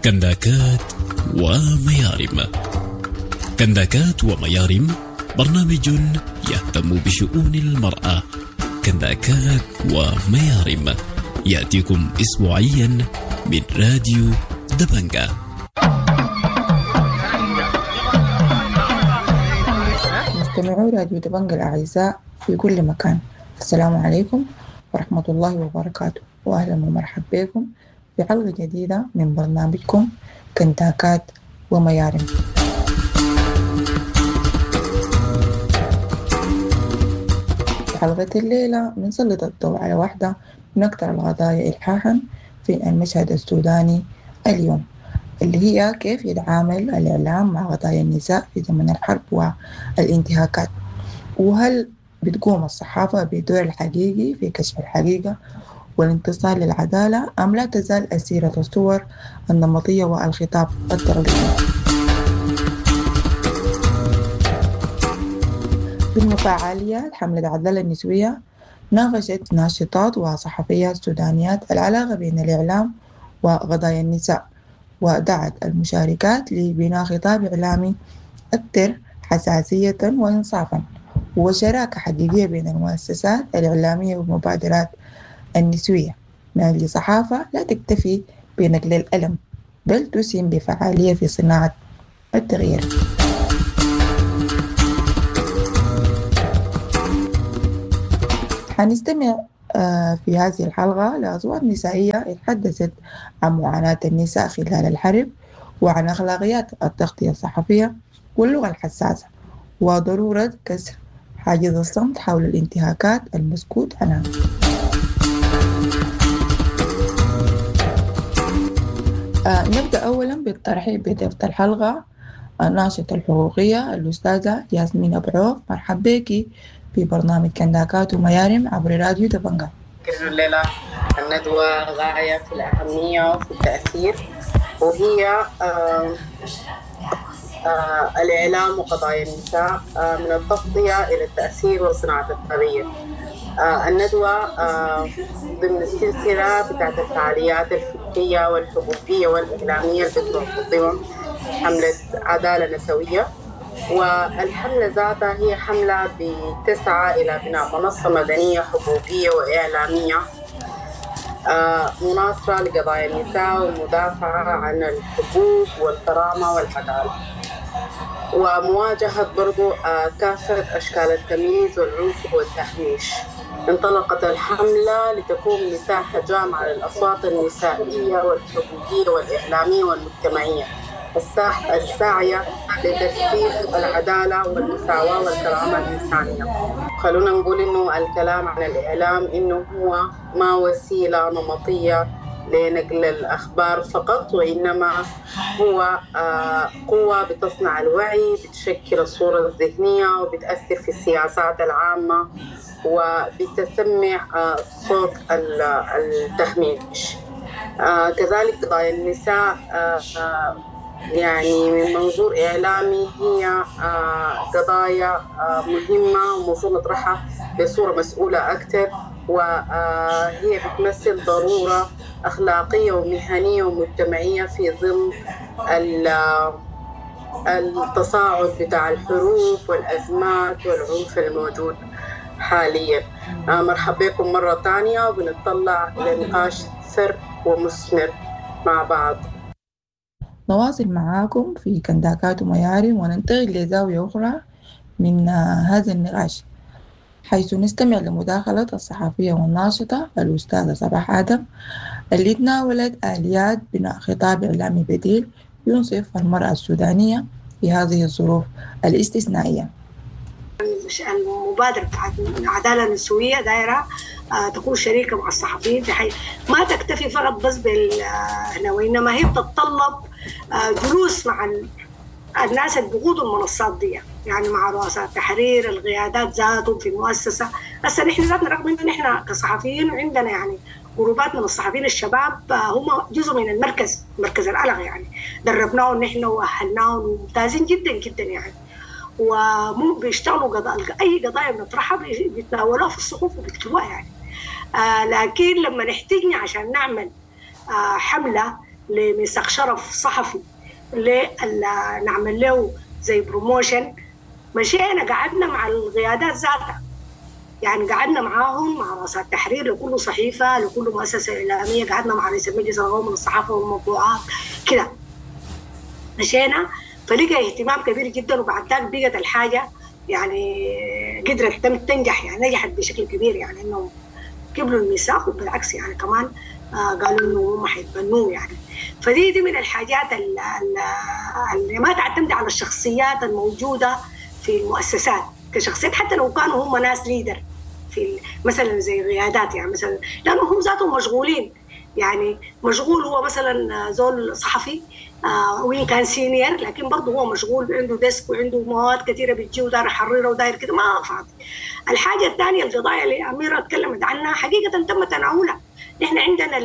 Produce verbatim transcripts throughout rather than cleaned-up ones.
كنداكات وميارم. كنداكات وميارم برنامج يهتم بشؤون المرأة. كنداكات وميارم يأتيكم أسبوعيا من راديو دبنجة. مستمعو راديو دبنجة الأعزاء في كل مكان، السلام عليكم ورحمة الله وبركاته، وأهلا ومرحبا بكم في حلقة جديدة من برنامجكم كنداكات وميارم. في حلقة الليلة بنسلط الضوء على واحدة من أكثر القضايا إلحاحا في المشهد السوداني اليوم، اللي هي كيف يتعامل الإعلام مع قضايا النساء في زمن الحرب والانتهاكات، وهل بتقوم الصحافة بدور الحقيقي في كشف الحقيقة والانتصار للعدالة أم لا تزال أسيرة الصور النمطية والخطاب التغليظي. بالمفاعليات حملة العدالة النسوية ناقشت ناشطات وصحفيات سودانيات العلاقة بين الإعلام وقضايا النساء، ودعت المشاركات لبناء خطاب إعلامي أكثر حساسية وإنصافا وشراكة حقيقية بين المؤسسات الإعلامية والمبادرات النسوية من أجل صحافة لا تكتفي بنقل الألم بل تسهم بفعالية في صناعة التغيير. حنستمع في هذه الحلقة لأصوات نسائية تحدثت عن معاناة النساء خلال الحرب وعن أخلاقيات التغطية الصحفية واللغة الحساسة وضرورة كسر حاجز الصمت حول الانتهاكات المسكوت عنها. آه نبدأ أولا بالترحيب بضيفة الحلقة الناشطة الحقوقية الأستاذة ياسمين أبو عوف. مرحبا بك في برنامج كنداكات وميارم عبر راديو دبنجة. الليلة الندوة غاية في الأهمية وفي التأثير، وهي آه آه الإعلام وقضايا النساء آه من التغطية إلى التأثير وصناعة التغيير. آه الندوة آه ضمن السلسلة بتاعت الفعاليات الفكرية والحقوقية والإعلامية اللي بتنظمها حملة عدالة نسوية، والحملة ذاتها هي حملة بتسعى إلى بناء منصة مدنية حقوقية وإعلامية آه مناصرة لقضايا النساء والمدافعة عن الحقوق والكرامة والعدالة، ومواجهة برضو آه كافة أشكال التمييز والعنف والتهميش. انطلقت الحملة لتكون مساحة جامعة للأصوات النسائية والحقوقية والإعلامية والمجتمعية الساحة الساعية لترسيخ العدالة والمساواة والكرامة الإنسانية. خلونا نقول إنه الكلام عن الإعلام إنه هو ما وسيلة نمطية لنقل الأخبار فقط، وإنما هو قوة بتصنع الوعي، بتشكل الصورة الذهنية وبتأثر في السياسات العامة وبتسمع صوت التهميش. كذلك قضايا النساء يعني من منظور إعلامي هي قضايا مهمة ومفروض نطرحها بصورة مسؤولة أكثر، وهي بتمثل ضرورة أخلاقية ومهنية ومجتمعية في ظل التصاعد بتاع الحروب والأزمات والعنف الموجود حاليا. مرحبا بكم مرة ثانية، وبنطلع لنقاش ثر ومثمر مع بعض. نواصل معاكم في كنداكات وميارم وننتقل لزاوية أخرى من هذا النقاش، حيث نستمع لمداخلة الصحفية والناشطة الأستاذة صباح آدم اللي تناولت آليات بناء خطاب إعلامي بديل ينصف المرأة السودانية في هذه الظروف الاستثنائية. المبادرة بتاعت العدالة النسوية دايرة تكون شريكة مع الصحفيين في حي ما تكتفي فقط بس بال وإنما هي بتتطلب جلوس مع الناس اللي بيقودوا المنصات دي، يعني مع رؤساء التحرير، القيادات ذاتهم في المؤسسة. هسه نحن ذاتنا رغم انه نحن كصحفيين وعندنا يعني جروبات من الصحفيين الشباب هم جزء من المركز، مركز الألغ يعني، دربناهم نحن واهلناهم وممتازين جدا جدا يعني، ومو بيشتغلوا قضايا، اي قضايا بنطرحها بيتناولوها في الصحف وبيكتبوها يعني. آه لكن لما نحتاجنا عشان نعمل آه حمله لميثاق شرف صحفي نعمل له زي promotion، مشينا قعدنا مع القيادات ذاتها، يعني قعدنا معاهم مع رؤساء التحرير لكل صحيفة لكل مؤسسة اعلامية، قعدنا مع رئيس المجلس القومي للصحافة والمطبوعات كده، مشينا فلقى اهتمام كبير جدا. وبعد ذاك بقت الحاجة يعني قدرت تنجح، يعني نجحت بشكل كبير، يعني انه قبلوا الميثاق، وبالعكس يعني كمان آه قالوا انه هم حيتبنوه يعني. فدي دي من الحاجات اللي ما تعتمد على الشخصيات الموجودة في المؤسسات كشخصيات، حتى لو كانوا هم ناس leader في مثلا زي قيادات يعني مثلا، لانه هم ذاتهم مشغولين، يعني مشغول هو مثلا زول صحفي آه وين كان senior، لكن برضه هو مشغول عنده desk وعنده مواد كثيرة بتجي وداير يحررها وداير كده، ما فاضي. الحاجة الثانية القضايا اللي اميره تكلمت عنها حقيقة تم تناولها. نحن عندنا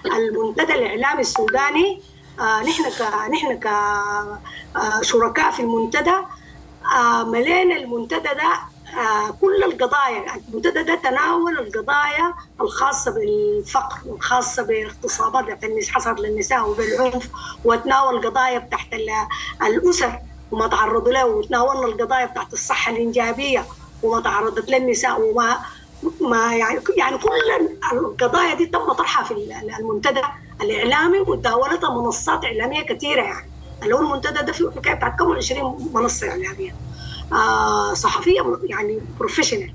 المنتدى الاعلامي السوداني، آه نحن ك نحن كشركاء في المنتدى آه ملينا المنتدى ده آه كل القضايا. المنتدى ده تناول القضايا الخاصة بالفقر والخاصة بالاغتصابات اللي حصلت للنساء وبالعنف، وتناول القضايا بتاعت الأسر وما تعرضوا له، وتناولنا القضايا بتاعت الصحة الإنجابية وما تعرضت للنساء وما ما يعني يعني كل القضايا دي تم طرحها في المنتدى الإعلامي وتداولتها منصات إعلامية كثيرة. يعني اللي هو المنتدى ده فيه حكاية بتاعت كم عشرين منصة إعلامية آه صحفية يعني professional.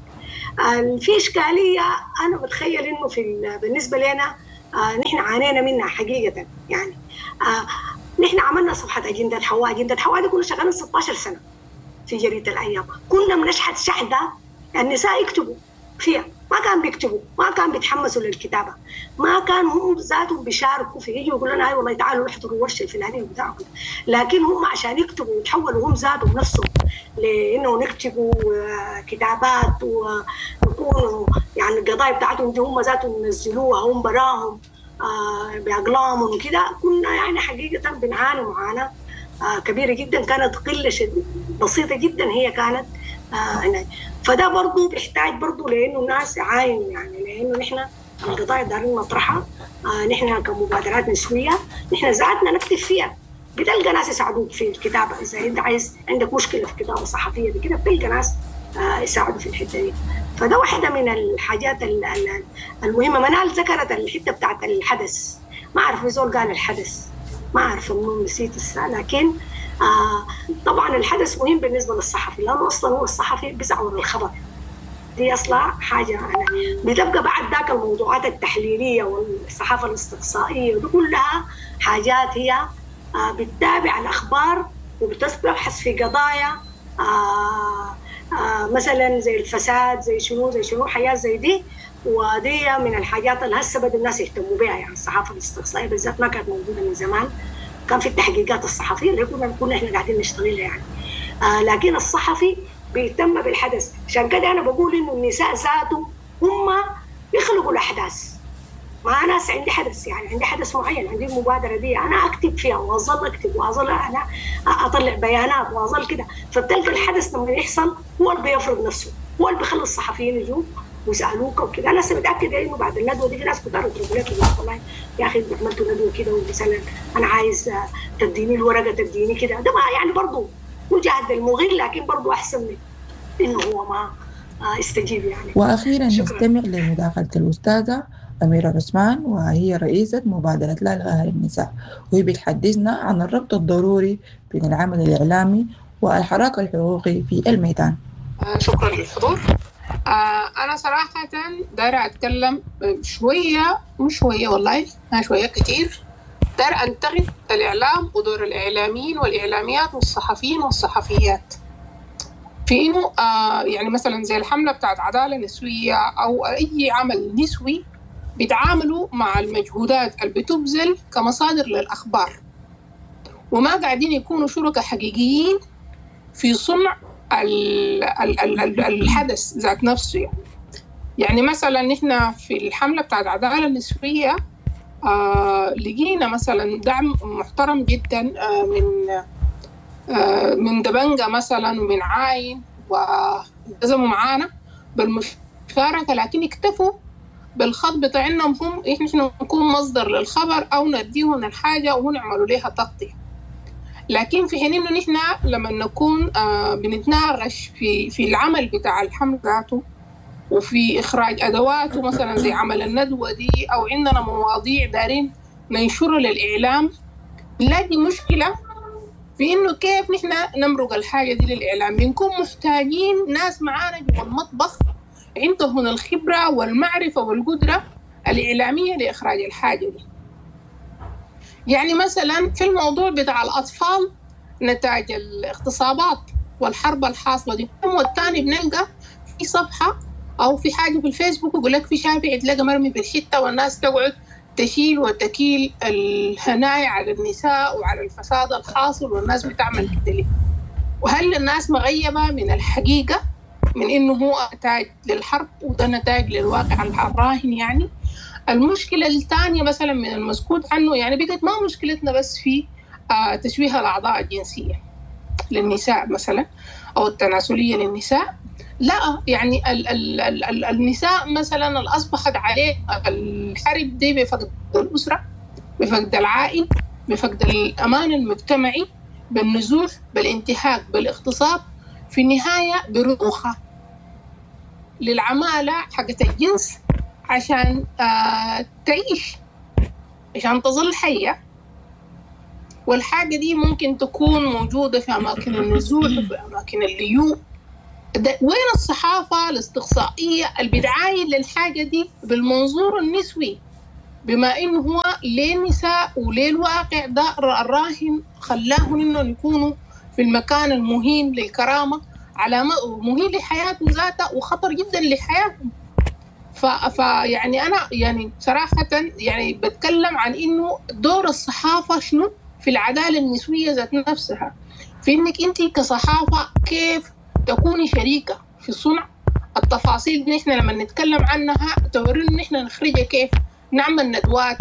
آه في اشكالية انا بتخيل انه في بالنسبة لنا آه نحن عانينا منها حقيقة، يعني آه نحن عملنا صفحة اجندة حواء. اجندة حواء دي كنا شغالين ستة عشر سنة في جريدة الايام، كنا بنشحت شحده النساء يكتبوا فيها، ما كان بيكتبوا، ما كان بيتحمسوا للكتابة، ما كان هم ذاتهم بيشاركوا في، يجوا يقولوا لنا اي والله تعالوا احضروا الورشة الفلانية وبتاع، لكن هم عشان يكتبوا ويتحولوا هم ذاتهم نفسهم لانه نكتبوا كتابات ويكونوا يعني القضايا بتاعتهم دي هم ذاتهم ينزلوها هم براهم باقلامهم وكده، كنا يعني حقيقة بنعاني معاناة كبيرة جدا، كانت قلة بسيطة جدا هي كانت هناك. فده برضه بيحتاج برضه لانه الناس يعاينوا، يعني لانه نحن القضايا دارين نطرحها، آه نحن كمبادرات نسويه نحن ذاتنا نكتب فيها، بتلقى ناس يساعدوك في الكتابة، اذا انت عايز عندك مشكلة في كتابه صحفية دي كده بتلقى ناس آه يساعدوا في الحتة دي. فده واحدة من الحاجات المهمة. منال ذكرت الحتة بتاعت الحدث، ما اعرف زول قال الحدث، ما اعرف منو نسيت الساعة، لكن آه طبعا الحدث مهم بالنسبة للصحفي، لانه اصلا هو الصحفي بيزعور الخبر، دي اصلا حاجة يعني بتبقى بعد ذاك الموضوعات التحليلية والصحافة الاستقصائية ودي كلها حاجات هي آه بتتابع الاخبار وبتبحث في قضايا آه آه مثلا زي الفساد، زي شنو زي شنو حاجات زي دي، ودي من الحاجات اللي هسه بدوا الناس يهتموا بها. يعني الصحافة الاستقصائية بالذات ما كانت موجودة من زمان، كان في التحقيقات الصحفية اللي كنا كنا احنا قاعدين نشتغلها يعني، آه لكن الصحفي بيهتم بالحدث. عشان كده انا بقول انه النساء ذاتهم هم يخلقوا الاحداث. ما ناس عندي حدث، يعني عندي حدث معين، عندي المبادرة دي انا اكتب فيها واظل اكتب واظل انا اطلع بيانات واظل كده، فبتلقى الحدث لما يحصل هو اللي بيفرض نفسه، هو اللي بيخلي الصحفيين يجوا ويسالوك وكده. انا هسه متاكدة انه بعد الندوة دي في ناس كتار يضربوا لك والله يا اخي انتوا عملتوا ندوه كده، ومثلا انا عايز تديني الورقة تديني كده، ده ما يعني برضه مجاهد المغل، لكن برضه احسن من انه هو ما استجيب يعني. واخيرا نستمع لمداخله الاستاذة أميرة عثمان، وهي رئيسة مبادرة لا لقهر النساء، وهي بتحدثنا عن الربط الضروري بين العمل الإعلامي والحراك الحقوقي في الميدان. شكرا للحضور. أنا صراحة دايرة أتكلم شوية، مش شوية والله، شوية كتير. دايرة أنتقد الإعلام ودور الإعلاميين والإعلاميات والصحفيين والصحفيات في إنه آه يعني مثلا زي الحملة بتاعت عدالة نسوية أو أي عمل نسوي بيتعاملوا مع المجهودات اللي بتبذل كمصادر للأخبار، وما قاعدين يكونوا شركاء حقيقيين في صنع الحدث ذات نفسه. يعني يعني مثلا نحن في الحملة بتاعت عدالة النسوية آه لقينا مثلا دعم محترم جدا آه من آه من دبنجة مثلا ومن عاين، والتزموا معانا بالمشاركة، لكن اكتفوا بالخط بتاع انهم هم احنا نكون مصدر للخبر او نديهم الحاجة وهم يعملوا لها تغطيه. لكن في حين انه نحن لما نكون آه بنتناقش في في العمل بتاع الحملة ذاته وفي اخراج ادواته مثلا زي عمل الندوة دي، او عندنا مواضيع دارين ننشرها للاعلام، نلاقي مشكلة في انه كيف نحن نمرق الحاجة دي للاعلام. بنكون محتاجين ناس معانا جوا المطبخ عندهم الخبرة والمعرفة والقدرة الاعلامية لاخراج الحاجة دي. يعني مثلا في الموضوع بتاع الاطفال نتاج الاغتصابات والحرب الحاصلة دي، والثاني بنلقى في صفحة او في حاجة في الفيسبوك يقول لك في شافع تلاقى مرمي في الحتة، والناس تقعد تشيل وتكيل الهنايا على النساء وعلى الفساد الحاصل، والناس بتعمل كده ليه؟ وهل الناس مغيبة من الحقيقة من إنه هو نتاج للحرب وده نتاج للواقع الراهن؟ يعني المشكلة الثانية مثلا من المسكوت عنه، يعني بقت ما مشكلتنا بس في آه تشويه الأعضاء الجنسية للنساء مثلا أو التناسلية للنساء، لا يعني ال ال ال ال النساء مثلا اللي أصبحت عليه الحرب دي بفقد الأسرة، بفقد العائل، بفقد الأمان المجتمعي، بالنزوح، بالانتهاك، بالاغتصاب، في النهاية برضوخة للعمالة حقت الجنس عشان آه تعيش، عشان تظل حية. والحاجة دي ممكن تكون موجودة في أماكن النزوح وفي أماكن الليوء. وين الصحافة الاستقصائية اللي بتعاين للحاجة دي بالمنظور النسوي، بما إنه هو ليه النساء وليه الواقع ده الراهن خلاهم إنهم يكونوا في المكان المهين للكرامة، على مهين لحياتهم ذاتها وخطر جدا لحياتهم. فيعني أنا يعني صراحة يعني بتكلم عن إنه دور الصحافة شنو في العدالة النسوية ذات نفسها، في إنك أنت كصحافة كيف تكوني شريكة في صنع التفاصيل دي. نحن لما نتكلم عنها تورينا نحن نخرجها كيف، نعمل ندوات،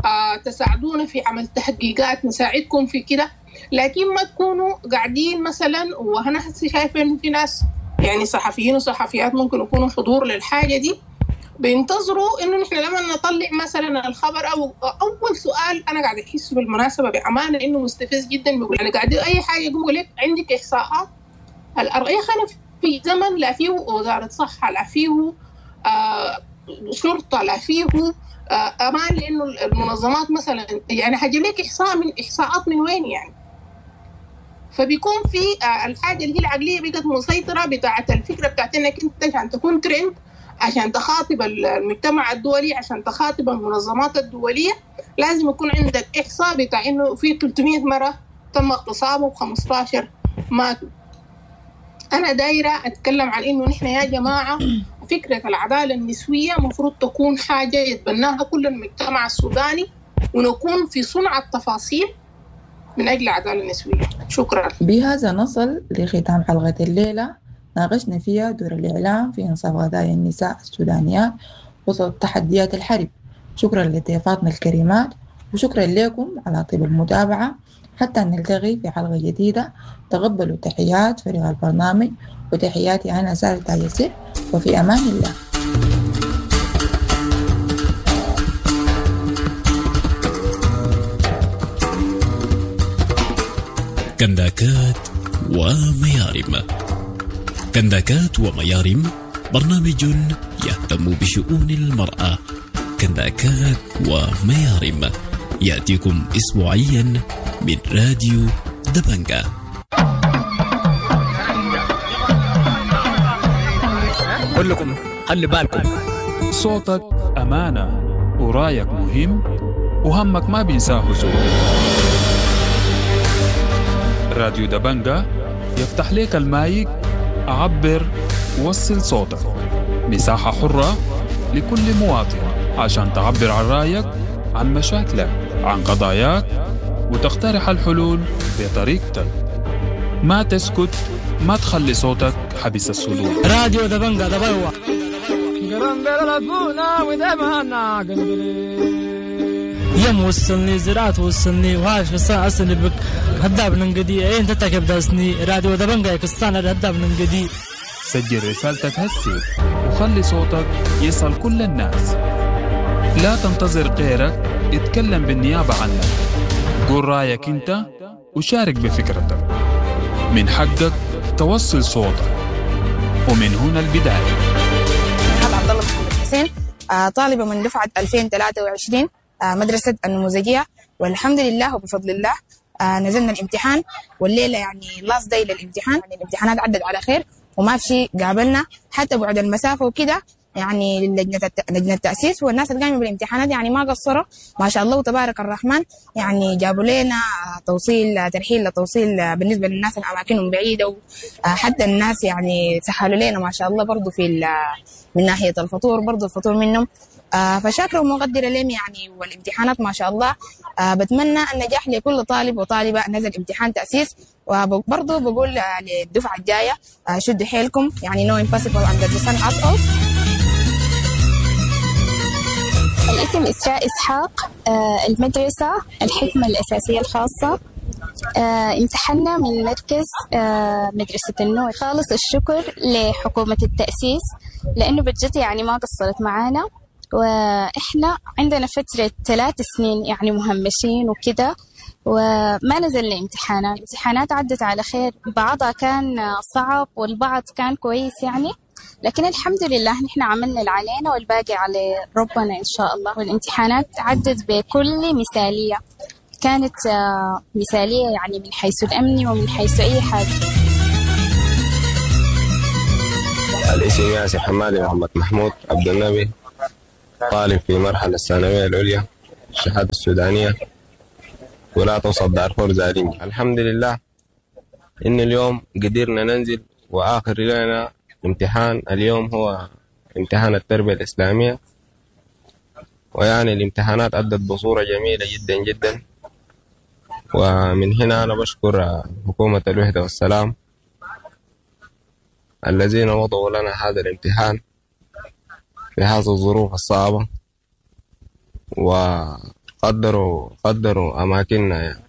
آه، تساعدونا في عمل تحقيقات، نساعدكم في كده، لكن ما تكونوا قاعدين مثلا. وأنا شايفة إنه في ناس يعني صحفيين وصحفيات ممكن يكونوا حضور للحاجة دي، بينتظروا إنه نحن لما نطلع مثلا الخبر أو أول سؤال أنا قاعد أحس بالمناسبة بأمانة إنه مستفز جدا، بيقول أنا قاعد أي حاجة يقول لك عندك إحصاءات الأرقام. أنا في زمن لا فيه وزارة صحة، لا فيه آه شرطة، لا فيه آه أمان، لأنه المنظمات مثلا يعني هجيب لك إحصاء من إحصاءات من وين يعني؟ فبيكون في آه الحاجة اللي هي العقلية بقت مسيطرة بتاعة الفكرة بتاعت إنك أنت عشان تكون ترند، عشان تخاطب المجتمع الدولي، عشان تخاطب المنظمات الدولية، لازم يكون عندك إحصاء بتاع إنه في ثلاثمية مرة تم اغتصابه وخمستاشر ماتوا. أنا دايرة أتكلم عن إنه نحن يا جماعة فكرة العدالة النسوية مفروض تكون حاجة يتبناها كل المجتمع السوداني، ونكون في صنع التفاصيل من أجل العدالة النسوية. شكرا. بهذا نصل لختام حلقة الليلة، ناقشنا فيها دور الإعلام في إنصاف قضايا النساء السودانيات وسط تحديات الحرب. شكرا لضيفاتنا الكريمات، وشكرا لكم على طيب المتابعة. حتى نلتقي في حلقة جديدة، تقبلوا تحيات فريق البرنامج وتحياتي أنا سارة تاج، وفي أمان الله. كنداكات وميارم. كنداكات وميارم برنامج يهتم بشؤون المرأة. كنداكات وميارم يأتيكم أسبوعيا من راديو دبنجة. كلكم خلي بالكم، صوتك أمانة ورايك مهم وهمك ما بينساه زول. راديو دبنجة يفتح لك المايك، عبر، وصل صوتك، مساحة حرة لكل مواطن عشان تعبر عن رأيك، عن مشاكلك، عن قضاياك، وتقترح الحلول بطريقتك. ما تسكت، ما تخلي صوتك حبس الصدور. راديو دبنجة دبنجة. يم وصلني زراعة وصلني وهاش بس أصلي بك هداب ننقدي إيه أنت تكب داسني راديو دبنجة كستان هداب ننقدي. سجل رسالتك هسي وخلي صوتك يصل كل الناس. لا تنتظر غيرك يتكلم بالنيابة عنك. قول رأيك أنت وشارك بفكرتك. من حقك توصل صوتك، ومن هنا البداية. عبد الله محمد حسين، طالبة من دفعة ألفين وثلاثة وعشرين مدرسة النموذجية، والحمد لله وبفضل الله نزلنا الامتحان، والليلة يعني last day للامتحان. يعني الامتحانات عدت على خير وما في شيء قابلنا حتى بعد المسافة وكده، يعني لجنة لجنة التأسيس والناس اللي قايمة بالامتحانات يعني ما قصروا ما شاء الله وتبارك الرحمن. يعني جابوا لنا توصيل ترحيل لتوصيل بالنسبة للناس الأماكنهم بعيدة، وحتى الناس يعني سهلوا لنا ما شاء الله برضو في من ناحية الفطور، برضو الفطور منهم، فشاكرة ومقدرة لهم يعني. والامتحانات ما شاء الله، بتمنى النجاح لكل طالب وطالبة نزل امتحان تأسيس، وبرضو بقول للدفعة الجاية شدوا حيلكم، يعني no impossible under the sun at all. الاسم إسراء إسحاق، المدرسة الحكمة الأساسية الخاصة. امتحنا من مركز مدرسة النور. خالص الشكر لحكومة التأسيس لأنه بجد يعني ما قصرت معانا، وإحنا عندنا فترة ثلاث سنين يعني مهمشين وكده، وما نزلنا امتحانات. الامتحانات عدت على خير، بعضها كان صعب والبعض كان كويس يعني، لكن الحمد لله نحن عملنا اللي علينا والباقي على ربنا إن شاء الله. والامتحانات عدت بكل مثالية، كانت مثالية يعني من حيث الأمن ومن حيث أي حاجة. الاسم ياسر حمادي محمد محمود عبد النبي، طالب في مرحلة الثانوية العليا الشهادة السودانية، ولا توصل دارفور زارينج. الحمد لله إن اليوم قدرنا ننزل، وآخر لنا امتحان اليوم هو امتحان التربية الإسلامية، ويعني الامتحانات أدت بصورة جميلة جدا جدا. ومن هنا أنا بشكر حكومة الوحدة والسلام الذين وضعوا لنا هذا الامتحان في هذه الظروف الصعبة، وقدروا قدروا أماكننا يعني.